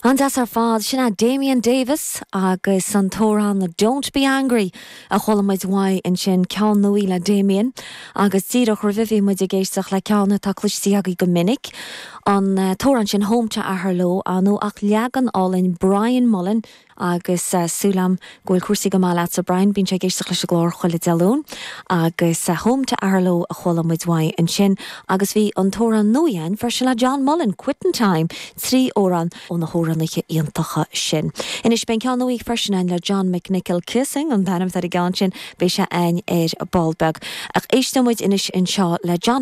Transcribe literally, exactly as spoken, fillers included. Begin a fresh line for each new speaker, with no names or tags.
An-deas ar fad sin é Damien Davis agus an t-amhrán Don't Be Angry a chuala muid uaidh ansin ceann nua le Damien agus díreach roimhe bhí muid ag éisteacht le ceann atá cloiste agaibh go minic an uh, t-amhrán sin Home to Aherlow anú ach leagan álainn Brian Mullen agus uh, súil agam go bhfuil cúrsaí go maith leatsa Brian bíonn sé ag éisteacht leis an gclár chuile Dé Luain agus uh, Home to Aherlow a chuala muid uaidh ansin agus bhí an t-amhrán nua freisin le John Mullen Quitting Time trí amhrán ó na hamhránaithe iontacha sin. Anois beidh ceann nua freisin ann le John McNichol Kissing an t-ainm ar an gceann sin beidh sé ann ar ball beag. Ach éisteoidh muid anois anseo le John